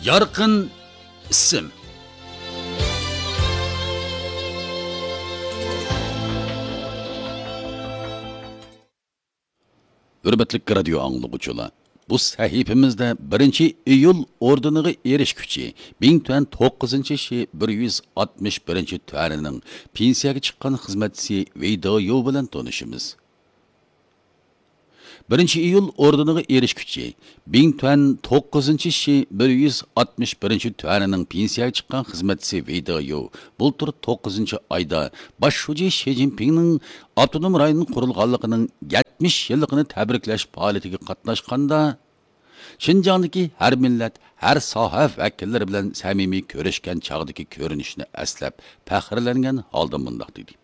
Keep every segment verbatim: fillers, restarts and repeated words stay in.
يارقىن ئىسىم. ھۆرمەتلىك رادىيو ئاڭلىغۇچىلار، بۇ سەھىپىمىزدە بىرىنچى ئىيۇل ئوردېنىغا ئېرىشكۈچى، بىڭتۈەن توققۇزىنچى شى بىر يۈز ئاتمىش بىرىنچى تۈەنىنىڭ پېنسىيەگە چىققان خىزمەتچىسى ۋېي دېيۇ بىلەن تونۇشىمىز. بىرىنچى ئىيۇل ئوردېنىغا ئېرىشكۈچى، بىڭتۈەن توققۇزىنچى شى بىر يۈز ئاتمىش بىرىنچى تۈەنىنىڭ پېنسىيەگە چىققان خىزمەتچىسى ۋېي دېيۇ بۇلتۇر توققۇزىنچى ئايدا باش شۇجى شى جىنپىڭنىڭ ئاپتونوم رايون قۇرۇلغانلىقىنىڭ يەتمىش يىللىقىنى تەبرىكلەش پائالىيىتىگە قاتناشقاندا، شىنجاڭدىكى ھەر مىللەت، ھەر ساھە ۋەكىللىرى بىلەن سەمىمىي كۆرۈشكەن چاغدىكى كۆرۈنۈشنى ئەسلەپ پەخىرلەنگەن ھالدا مۇنداق دېدى.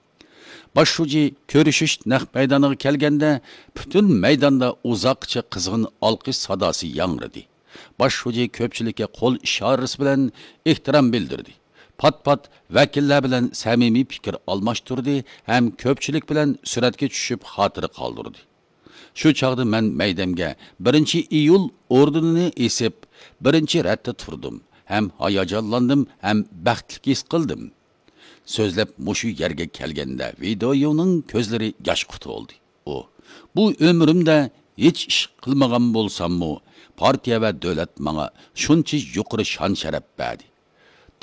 باش شۇجى كۆرۈشۈش نەق مەيدانىغا كەلگەندە، پۈتۈن مەيداندا ئۇزاققىچە قىزغىن ئالقىش ساداسى ياڭرىدى. باش شۇجى كۆپچىلىككە قول ئىشارىسى بىلەن ئېھتىرام بىلدۈردى. پات-پات ۋەكىللەر بىلەن سەمىمىي پىكىر ئالماشتۇردى ھەم كۆپچىلىك بىلەن سۈرەتكە چۈشۈپ خاتىرە قالدۇردى. شۇ چاغدا مەن مەيدەمگە بىرىنچى ئىيۇل ئوردېنىنى ئېسىپ، بىرىنچى رەتتە تۇردۇم ھەم ھاياجانلاندىم ھەم بەختلىك ھېس قىلدىم. سۆزلەپ مۇشۇ يەرگە كەلگەندە ۋېي دېيۇنىڭ كۆزلىرى ياشقا تولدى. ئۇ، بۇ ئۆمرۈمدە ھېچ ئىش قىلمىغان بولساممۇ، پارتىيە ۋە دۆلەت ماڭا شۇنچە يۇقىرى شان-شەرەپ بەردى.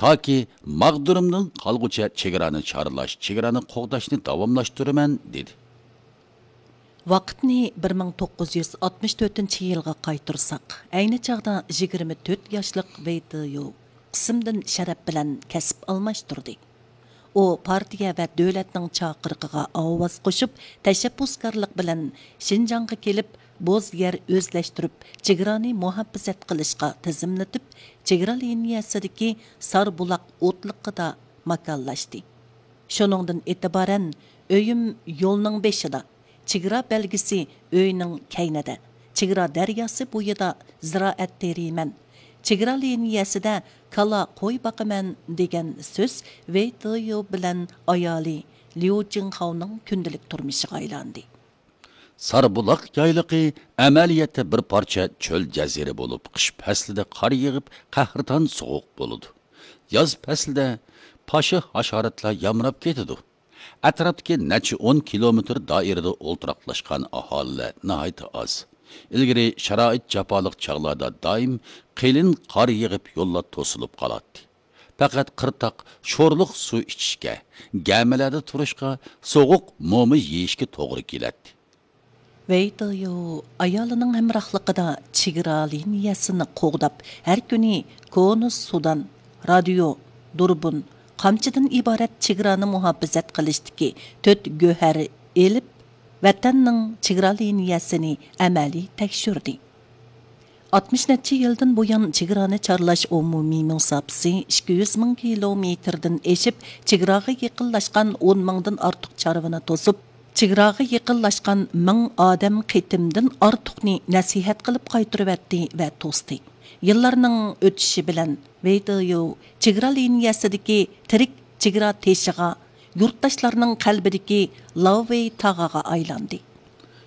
تاكى ماغدۇرۇمدىن قالغۇچە چېگرانى چارلاش، چېگرانى قوغداشنى داۋاملاشتۇرىمەن، دېدى. ۋاقىتنى بىر مىڭ توققۇز يۈز ئاتمىش تۆتىنچى يىلغا قايتۇرساق، ئەينى چاغدا يىگىرمە تۆت ياشلىق ۋېي دېيۇ قىسىمدىن شەرەپ بىلەن كەسىپ ئالماشتۇردى. ئۇ پارتىيە ۋە دۆلەتنىڭ چاقىرىقىغا ئاۋاز قوشۇپ، تەشەببۇسكارلىق بىلەن شىنجاڭغا كېلىپ، بوز يەر ئۆزلەشتۈرۈپ، چېگرانى مۇھاپىزەت قىلىشقا تىزىملىتىپ، چېگرا لىنىيەسىدىكى ساربۇلاق ئوتلىقىدا ماكانلاشتى. شۇنىڭدىن ئېتىبارەن، ئۆيۈم يولنىڭ بېشىدا، چېگرا بەلگىسى ئۆينىڭ كەينىدە، چېگرا دەرياسى بويىدا زىرائەت تېرىيمەن، چېگرا لىنىيەسىدە كالا، قوي باقىمەن دېگەن سۆز ۋېي دېيۇ بىلەن ئايالى ليۇ جىڭخاۋنىڭ كۈندىلىك تۇرمۇشىغا ئايلاندى. ساربۇلاق يايلىقى ئەمەلىيەتتە بىر پارچە چۆل جەزىرە بولۇپ، قىش پەسلىدە قار يېغىپ، قەھرىتان سوغۇق بولىدۇ. ياز پەسلىدە پاشا ھاشاراتلار يامراپ كېتىدۇ. ئەتراپتىكى نەچچە ئون كىلومېتىر دائىرىدە ئولتۇراقلاشقان ئاھالىلەر ناھايىتى ئاز. ئىلگىرى شارائىت جاپالىق چاغلاردا دائىم قېلىن قار يېغىپ، يوللار توسۇلۇپ قالاتتى. پەقەت قىرتاق شورلۇق سۇ ئىچىشكە، گەمىلەردە تۇرۇشقا، سوغۇق موما يېيىشكە توغرا كېلەتتى. ۋېي دېيۇ ئايالىنىڭ ھەمراھلىقىدا چېگرا لىنىيەسىنى قوغداپ، ھەر كۈنى كونا سۇدان، رادىيو، دۇربۇن، قامچىدىن ئىبارەت چېگرانى مۇھاپىزەت قىلىشتىكى تۆت گۆھەر ئېلىپ، ۋەتەننىڭ چېگرا لىنىيەسىنى ئەمەلىي تەكشۈردى. ئاتمىش نەچچە يىلدىن بۇيان، چېگرانى چارلاش ئومۇمىي مۇساپىسى ئىككى يۈز مىڭ كىلومېتىردىن ئېشىپ، چېگراغا يېقىنلاشقان ئون مىڭدىن ئارتۇق چارۋىنى توسۇپ، چېگراغا يېقىنلاشقان مىڭ ئادەم قېتىمدىن ئارتۇقنى نەسىھەت قىلىپ قايتۇرۇۋەتتى ۋە توستى. يىللارنىڭ ئۆتۈشى بىلەن، ۋېي دېيۇ چېگرا لىنىيەسىدىكى تىرىك چېگرا تېشىغا، يۇرتداشلارنىڭ قەلبىدىكى لاۋېي تاغىغا ئايلاندى.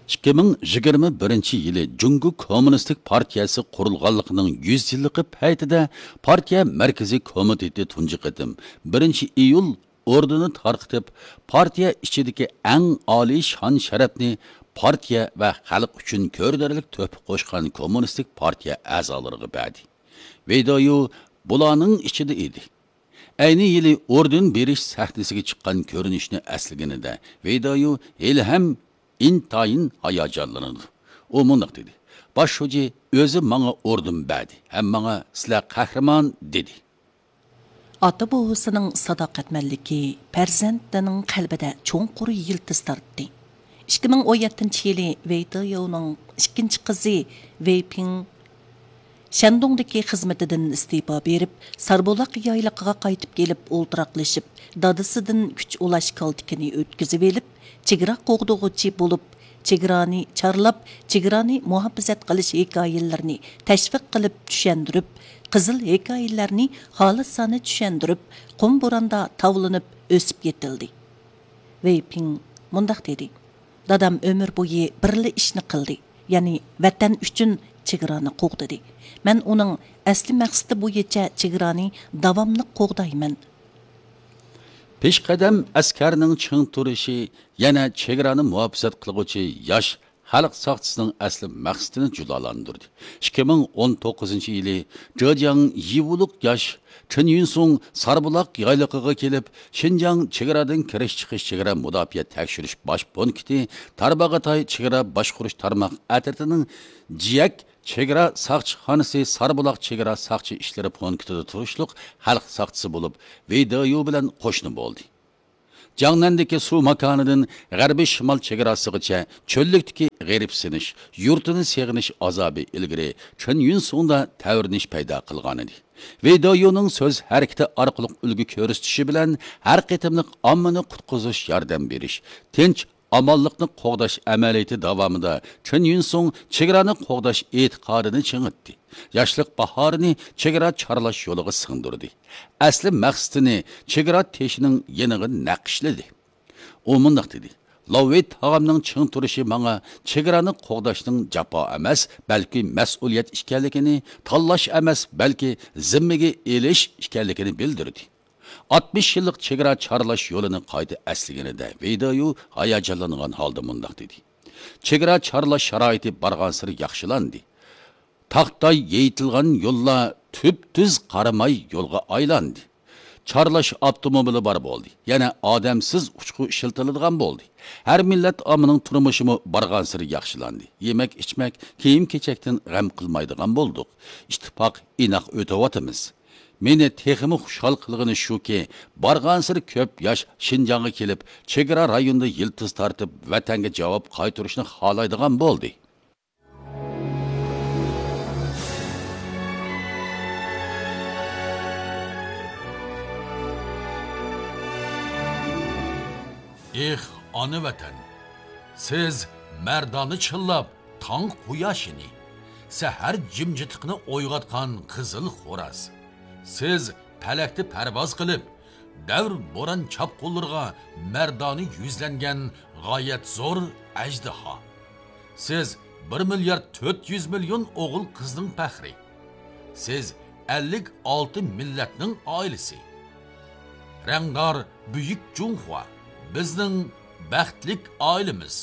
ئىككى مىڭ يىگىرمە بىرىنچى يىلى جۇڭگو كوممۇنىستىك پارتىيەسى قۇرۇلغانلىقىنىڭ يۈز يىللىقى پەيتىدە پارتىيە مەركىزىي كومىتېتى تۇنجى قېتىم بىرىنچى ئىيۇل ئوردېنى تارقىتىپ، پارتىيە ئىچىدىكى ئەڭ ئالىي شان-شەرەپنى پارتىيە ۋە خەلق ئۈچۈن كۆرۈنەرلىك تۆھپە قوشقان كوممۇنىستىك پارتىيە ئەزالىرىغا بەردى. ۋېي دېيۇ بۇلارنىڭ ئىچىدە ئىدى. ئەينى يىلى ئوردېن بېرىش سەھنىسىگە چىققان كۆرۈنۈشنى ئەسلىگىنىدە، ۋېي دېيۇ ھېلىھەم ئىنتايىن ھاياجانلىنىدۇ. ئۇ مۇنداق دېدى: «باش شۇجى ئۆزى ماڭا ئوردېن بەردى ھەم ماڭا، سىلەر قەھرىمان، دېدى.» ئاتا-بوۋىسىنىڭ ساداقەتمەنلىكى، پەرزەنتىنىڭ قەلبىدە چوڭقۇر يىلتىز تارتتى. ئىككى مىڭ ئون يەتتىنچى يىلى ۋېي دېيۇنىڭ ئىككىنچى قىزى ۋېي پىڭ شەندۇڭدىكى خىزمىتىدىن ئىستېپا بېرىپ، ساربۇلاق يايلىقىغا قايتىپ كېلىپ ئولتۇراقلىشىپ، دادىسىدىن كۈچ ئۇلاش كالتىكىنى ئۆتكۈزۈۋېلىپ، چېگرا قوغدىغۇچى بولۇپ، چېگرانى چارلاپ، چېگرانى مۇھاپىزەت قىلىش ھېكايىلىرىنى تەشۋىق قىلىپ چۈشەندۈرۈپ، قىزىل ھېكايىلەرنى خالىسانە چۈشەندۈرۈپ، قۇم بوراندا تاۋلىنىپ ئۆسۈپ يېتىلدى. ۋېي پىڭ مۇنداق دېدى: «دادام ئۆمۈر بويى بىرلا ئىشنى قىلدى، يەنى ۋەتەن ئۈچۈن چېگرانى قوغدىدى. مەن ئۇنىڭ ئەسلى مەقسىتى بويىچە چېگرانى داۋاملىق قوغدايمەن. پېشقەدەم ئەسكەرنىڭ چىڭ تۇرۇشى يەنە چېگرانى مۇھاپىزەت قىلغۇچى ياش خەلق ساقچىسىنىڭ ئەسلى مەقسىتىنى جۇلالاندۇردى. ئىككى مىڭ ئون توققۇزىنچى يىلى جېجياڭ يىۋۇلۇق ياش چېن يۈنسۇڭ ساربۇلاق يايلىقىغا كېلىپ، شىنجاڭ چېگرادىن كىرىش چىقىش چېگرا مۇداپىئە تەكشۈرۈش باش پونكىتى، تارباغاتاي چېگرا باشقۇرۇش تارماق ئەترىتىنىڭ جىيەك چېگرا ساقچىخانىسى ساربۇلاق چېگرا ساقچى ئىشلىرى پونكىتىدا تۇرۇشلۇق خەلق ساقچىسى بولۇپ، ۋېي دېيۇ بىلەن قوشنا بولدى. جاڭنەندىكى سۇ ماكانىدىن غەربىي شىمال چېگراسىغىچە چۆللۈكتىكى غېرىبسىنىش، يۇرتىنى سېغىنىش ئازابى ئىلگىرى چېن يۈنسۇڭدا تەۋرىنىش پەيدا قىلغانىدى. ۋېي دېيۇنىڭ سۆز ھەرىكىتى ئارقىلىق ئۈلگە كۆرسىتىشى بىلەن ھەر قېتىملىق ئاممىنى قۇتقۇزۇش، ياردەم بېرىش، تىنچ، ئامانلىقنى قوغداش ئەمەلىيىتى داۋامىدا چېن يۈنسۇڭ چېگرانى قوغداش ئېتىقادىنى چىڭىتتى. ياشلىق باھارىنى چېگرا چارلاش يولىغا سىڭدۈردى. ئەسلى مەقسىتىنى چېگرا تېشىنىڭ يېنىغا نەقىشلىدى. ئۇ مۇنداق دېدى: «لاۋېي تاغامنىڭ چىڭ تۇرۇشى ماڭا چېگرانى قوغداشنىڭ جاپا ئەمەس، بەلكى مەسئۇلىيەت ئىكەنلىكىنى، تاللاش ئەمەس، بەلكى زىممىگە ئېلىش ئىكەنلىكىنى بىلدۈردى.» ئاتمىش يىللىق چېگرا چارلاش يولىنى قايتا ئەسلىگىنىدە، ۋېي دېيۇ ھاياجانلانغان ھالدا مۇنداق دېدى: «چېگرا چارلاش شارائىتى بارغانسېرى ياخشىلاندى. تاختاي يېيىتىلغان يوللار تۈپتۈز قاراماي يولغا ئايلاندى. چارلاش ئاپتوموبىلى بار بولدى. يەنە ئادەمسىز ئۇچقۇ ئىشلىتىلىدىغان بولدى. ھەر مىللەت ئاممىنىڭ تۇرمۇشىمۇ بارغانسېرى ياخشىلاندى. يېمەك-ئىچمەك، كىيىم-كېچەكتىن غەم قىلمايدىغان بولدۇق. ئىتتىپاق، ئىناق ئۆتۈۋاتىمىز. مېنى تېخىمۇ خۇشال قىلغىنى شۇكى، بارغانسېرى كۆپ ياش شىنجاڭغا كېلىپ، چېگرا رايونىدا يىلتىز تارتىپ، ۋەتەنگە جاۋاب قايتۇرۇشنى خالايدىغان بولدى.» ئېھ، ئانا ۋەتەن! سىز مەردانە چىللاپ تاڭ قۇياشىنى، سەھەر جىمجىتلىقىنى ئويغاتقان قىزىل خوراز. سىز پەلەكتە پەرۋاز قىلىپ، دەۋر بوران چاپقۇنلىرىغا مەردانە يۈزلەنگەن غايەت زور ئەجدىھا. سىز بىر مىليارد تۆت يۈز مىليون ئوغۇل قىزنىڭ پەخرى. سىز ئەللىك ئالتە مىللەتنىڭ ئائىلىسى. رەڭدار بۈيۈك جۇڭخۇا، بىزنىڭ بەختلىك ئائىلىمىز.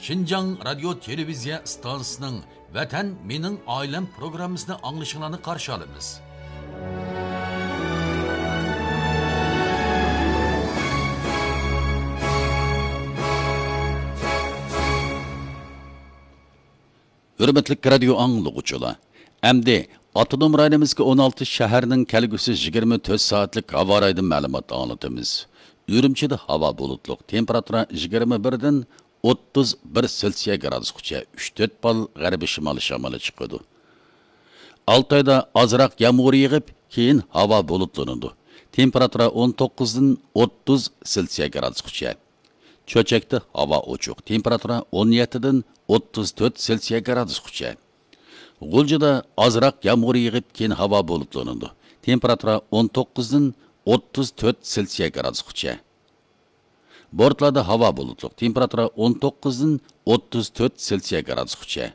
شىنجاڭ رادىيو تېلېۋىزىيە ئىستانسىسىنىڭ ۋەتەن مېنىڭ ئائىلەم پروگراممىسىنى ئاڭلىشىڭلارنى قارشى ئالىمىز. ھۆرمەتلىك رادىيو ئاڭلىغۇچىلار، ئەمدى ئاپتونوم رايونىمىزدىكى ئون ئالتە شەھەرنىڭ كەلگۈسى يىگىرمە تۆت سائەتلىك ھاۋا رايىدىن مەلۇمات ئاڭلىتىمىز. ئۈرۈمچىدە ھاۋا بۇلۇتلۇق، تېمپېراتۇرا يىگىرمە بىردىن ئوتتۇز بىر سېلسىيە گرادۇسقىچە، ئۈچ تۆت بال غەربىي شىمالىي شامىلى چىقىدۇ. ئالتايدا ئازراق يامغۇر يېغىپ، كېيىن ھاۋا بۇلۇتلىنىدۇ. تېمپېراتۇرا ئون توققۇزدىن ئوتتۇز سېلسىيە گرادۇسقىچە. چۆچەكتە ھاۋا ئوچۇق، تېمپېراتۇرا ئون يەتتىدىن ئوتتۇز تۆت سېلسىيە گرادۇسقىچە. غۇلجىدا ئازراق يامغۇر يېغىپ، كېيىن ھاۋا بۇلۇتلىنىدۇ. تېمپېراتۇرا ئون توققۇزدىن ئوتتۇز تۆت سېلسىيە گرادۇسقىچە. بورتلادا ھاۋا بۇلۇتلۇق، تېمپېراتۇرا ئون توققۇزدىن ئوتتۇز تۆت سېلسىيە گرادۇسقىچە.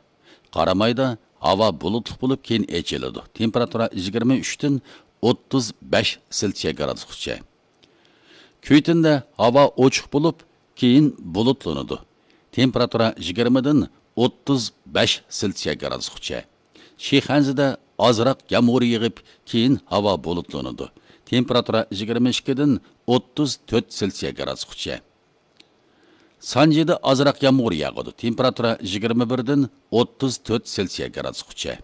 قارامايدا ھاۋا بۇلۇتلۇق بولۇپ، كېيىن ئېچىلىدۇ. تېمپېراتۇرا يىگىرمە ئۈچتىن ئوتتۇز بەش سېلسىيە گرادۇسقىچە. كۈيتىندە ھاۋا ئوچۇق بولۇپ، كېيىن بۇلۇتلىنىدۇ. تېمپېراتۇرا يىگىرمىدىن ئوتتۇز بەش سېلسىيە گرادۇسقىچە. شىخەنزىدە ئازراق يامغۇر يېغىپ، كېيىن ھاۋا بۇلۇتلىنىدۇ. تېمپېراتۇرا يىگىرمە ئىككىدىن ئوتتۇز تۆت سېلسىيە گرادۇسقىچە. سانجىدا ئازراق يامغۇر ياغىدۇ. تېمپېراتۇرا يىگىرمە بىردىن ئوتتۇز تۆت سېلسىيە گرادۇسقىچە.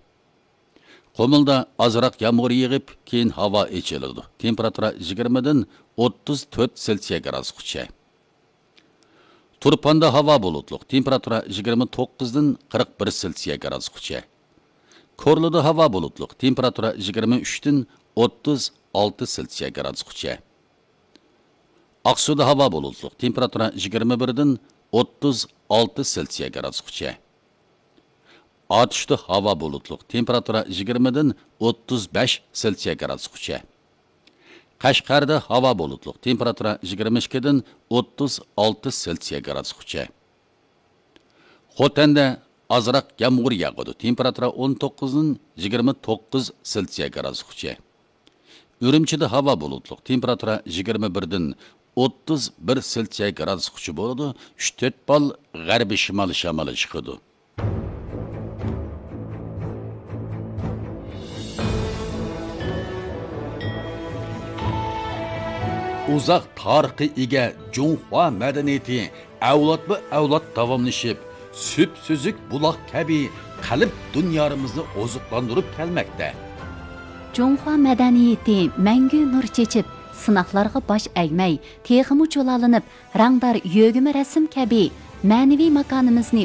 قۇمۇلدا ئازراق يامغۇر يېغىپ، كېيىن ھاۋا ئېچىلىدۇ. تېمپېراتۇرا يىگىرمىدىن ئوتتۇز تۆت سېلسىيە گرادۇسقىچە. تۇرپاندا ھاۋا بۇلۇتلۇق، تېمپېراتۇرا يىگىرمە توققۇزدىن قىرىق بىر سېلسىيە گرادۇسقىچە. كورلىدا ھاۋا بۇلۇتلۇق، تېمپېراتۇرا يىگىرمە ئۈچتىن ئوتتۇز ئالتە سېلسىيە گرادۇسقىچە. ئاقسۇدا ھاۋا بۇلۇتلۇق، تېمپېراتۇرا يىگىرمە بىردىن ئوتتۇز ئالتە سېلسىيە گرادۇسقىچە. ئاتۇشتا ھاۋا بۇلۇتلۇق، تېمپېراتۇرا يىگىرمىدىن ئوتتۇز بەش سېلسىيە گرادۇسقىچە. قەشقەردە ھاۋا بۇلۇتلۇق، تېمپېراتۇرا يىگىرمە ئىككىدىن ئوتتۇز ئالتە سېلسىيە گرادۇسقىچە. خوتەندە ئازراق يامغۇر ياغىدۇ. تېمپېراتۇرا ئون توققۇزدىن يىگىرمە توققۇز سېلسىيە گرادۇسقىچە. ئۈرۈمچىدە ھاۋا بۇلۇتلۇق. تېمپېراتۇرا يىگىرمە بىردىن ئوتتۇز بىر سېلسىيە گرادۇسقىچە بولىدۇ. ئۈچ تۆت بال غەربىي شىمالىي شامىلى چىقىدۇ. ئۇزاق تارىخقا ئىگە جۇڭخۇا مەدەنىيىتى ئەۋلادمۇ ئەۋلاد داۋاملىشىپ، سۈپسۈزۈك بۇلاق كەبى قەلب دۇنيارىمىزنى ئوزۇقلاندۇرۇپ كەلمەكتە. جۇڭخۇا مەدەنىيىتى مەڭگۈ نۇر چېچىپ، سىناقلارغا باش ئەگمەي، تېخىمۇ جۇلالىنىپ، رەڭدار يۆگىمە رەسىم كەبى مەنىۋى ماكانىمىزنى